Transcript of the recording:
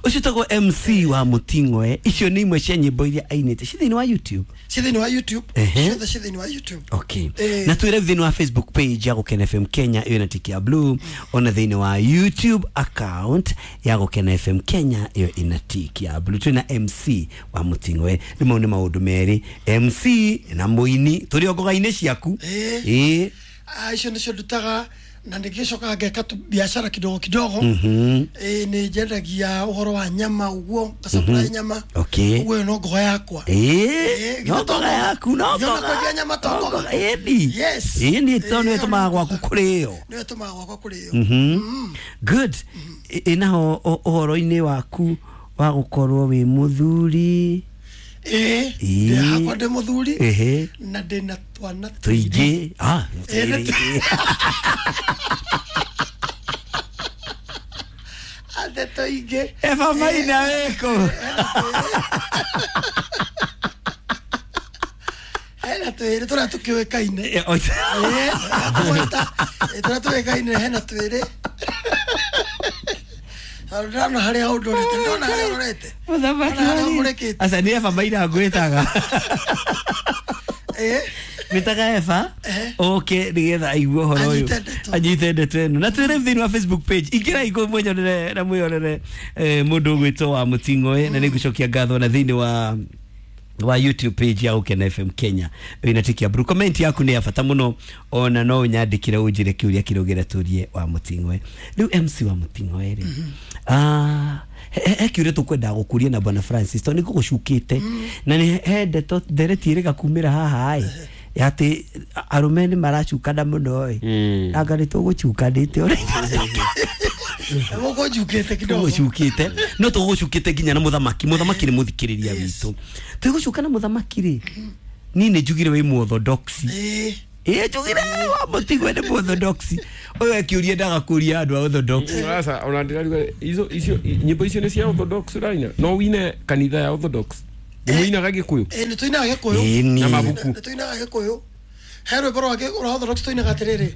Ũcio tagwo MC wa Mũting'oe. Icio nĩ imwe cia nyĩmbo iria ainĩte ci thĩinĩ wa YouTube. Ci thĩinĩ wa YouTube. Ehe. Ciothe ci thĩinĩ wa YouTube. Okay. Eh. Na twĩre thĩinĩ wa Facebook page ya Gũkena FM Kenya ĩyo na tiki ya blue, ona thĩinĩ wa YouTube account ya Gũkena FM Kenya ĩyo ĩna tiki ya blue, twĩna MC wa Mũting'oe. Rĩu mau nĩ maũndũ merĩ, MC na mũini, tũrĩ o ngoga-inĩ ciaku. Eh. Ĩĩ. Ah, icio nĩcio ndutaga na nĩngĩcokaga ngeka biacara kidogo kidogo. Ĩĩ, nĩ njendagia ũhoro wa nyama ũguo, ngasupply nyama. Okay. Ũguo ĩyo no ngogo yakwa. Ĩĩ, Ĩĩ, no githĩ to ngoga ngoga? yaku, no Githĩ ona ngoga. kwendia nyama to No ngoga? ngoga, ĩni. Yes. Ĩni, tondũ Ĩĩ, nĩwe ĩyo ĩtũmaga nĩ gwaku ngoga. kũrĩo. Nĩyo ĩtũmaga gwakwa kũrĩo. Good. Ĩ naho ũhoro-inĩ waku wa gũkorwo wĩ mũthuri? Ĩĩ. Ĩĩ. Ndĩ hakwa ndĩ mũthuri. Ehe. Na ndĩna twana tũingĩ. Tũingĩ. Ah, Ĩĩ, nĩ twĩrĩ. Atĩ tũingĩ. Eva Maina weko. Hena twĩrĩ tũrĩa tũkĩũĩkaine. Eh, Ĩĩ, tũgwĩta, ĩĩ, tũrĩa tũĩkaine hena twĩrĩ. Tondũ ndĩrona harĩa ũndorete, ndĩrona harĩa ũrorete. Mũthamaki Ndĩrona harĩa wa- ũmũrĩkĩte. Aca nĩ Eva Maina ngwĩtaga. Ĩĩ. Ngwĩtaga Eva. Ehe. Oke nĩgetha aigue ũhoro ũyũ. Anyite ndeto. Anyite ndeto ĩno. Na twĩre thĩinĩ wa Facebook page. Ingĩrai kũu mwĩnyonere na mwĩyonere mũndũ ũgwĩtwo wa Mũting'oe, na nĩngũcokia ngatho na thĩinĩ wa YouTube page ya Gũkena FM Kenya wĩna tiki ya blue. Comment yaku nĩ ya bata mũno, ona no ũnyandĩkĩre ũnjĩre kĩũria kĩrĩa ũngĩenda tũrie wa Mũting'oe. Rĩu MC wa Mũting'oe rĩ, ah, he kĩũria tũkwendaga gũkũria na Bwana Francis, tondũ nĩ ngũgũcukĩte na nĩ he ndeto ndereti ĩrĩga kumĩra haha ĩ atĩ arũme nĩ maracukana mũno ĩ, anga nĩ tũgũcukanĩte ũrĩa Mũkũnjukĩte kidogo. Tũgũcukĩte, no tũgũcukĩte nginya na mũthamaki. Mũthamaki nĩ mũthikĩrĩria witũ. Twĩgũcuka na mũthamaki rĩ, niĩ nĩ njugire wĩ mũorthodoxi. Ĩĩ. Ĩĩ, njugire wa Mũtigwe nĩ mũorthodoxi. Ũyũ ekĩũria ndaga kũria andũ a orthodox. Sasa ona ndĩraruga izo icio nyĩmbo icio nĩ cia Orthodox ũraina, no wine kanitha ya Orthodox nĩ mũinaga Gĩkũyũ? Ĩĩ, nĩ tũinaga Gĩkũyũ. Ĩni. Na mabuku. Nĩ tũinaga Gĩkũyũ. He rwĩmbo rwa Orthodox tũinaga atĩrĩrĩ.